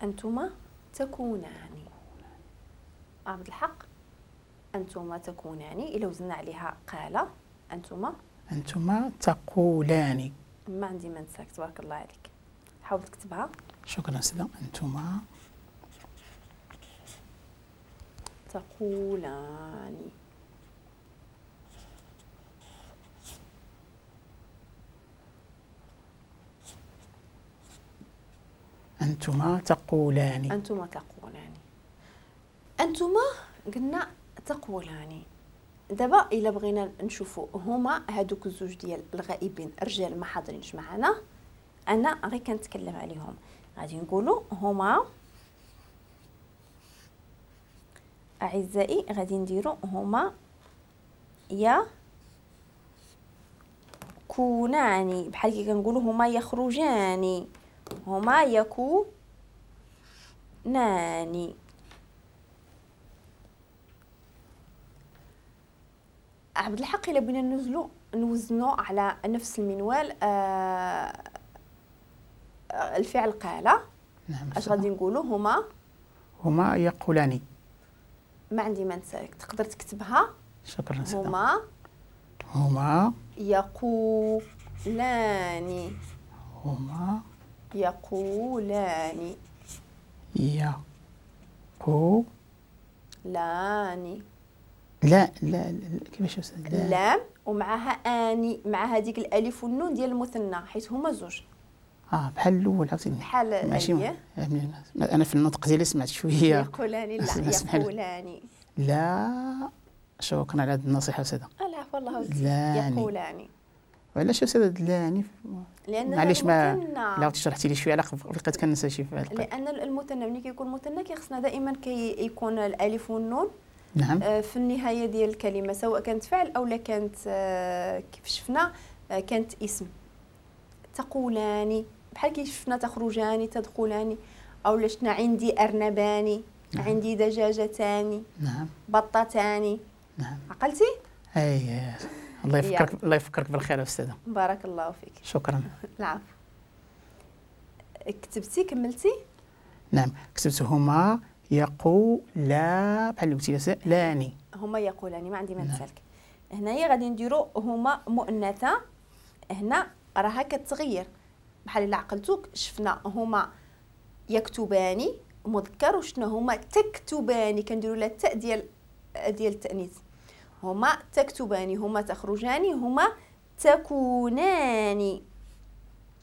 أنتما تكونان. عبد الحق، أنتما تكونان إلا وزنا عليها قال أنتما. أنتما تقولان. ما عندي ما نساك، تبارك الله عليك. حاول تكتبها. شكرا أستاذة. أنتما تقولان. أنتما تقولان. أنتما تقولان. أنتما قلنا تقولان. دابا إلا بغينا نشوفوا هما هادوك الزوج ديال الغائبين الرجال ما حاضرينش معنا، أنا غير كنتكلم عليهم، غادي نقولوا هما أعزائي، غادي نديروا هما يكونان، بحال كي كنقولوا هما يخرجان، هما يكونان. عبد الحق إلا بغينا ننزلو نوزنو على نفس المنوال الفعل قال. نعم. اش غادي نقولوا؟ هما هما يقولان. ما عندي ما نسالك، تقدر تكتبها. شكرا. هما هما يقولان. هما يقولان. يقولان. لا لا لا، كيفاش أستاذ؟ لام ومعها اني، مع هذيك الالف والنون ديال المثنى حيت هما زوج. بحال الاول عاوتاني. بحال ماشي انا في النطق ديالي سمعت شوية. يقولان. لا يقولان. لا شكرا على هذه النصيحة استاذه. العفو الله. يقولان. وعلاش استاذه لاني؟ لان معليش ما لا شرحتي لي شوية على بقيت كنسى شي فعل. لان المثنى ملي كيكون مثنى كيخصنا دائما كيكون الالف والنون. نعم. في النهاية ديال الكلمة، سواء كانت فعل او لا كانت كيف شفنا كانت اسم. تقولان بحال كيف شفنا تخرجان، تدخلان، او لا شفنا عندي ارنبان. نعم. عندي دجاجتان. نعم. بطتان. نعم. عقلتي؟ اي الله يفكرك، الله يفكرك بالخير استاذه. بارك الله فيك. شكرا. العفو. كتبتي كملتي؟ نعم كتبت هما يقولا بحال اللي قلتي لاني. هما يقولان، ما عندي ما نسالك. هنايا غادي نديرو هما مؤنثة، هنا راها كتغير بحال الا عقلتوك شفنا هما يكتبان مذكر، وشفنا هما تكتبان كنديروا لها التاء ديال التأنيث. هما تكتبان، هما تخرجان، هما تكونان.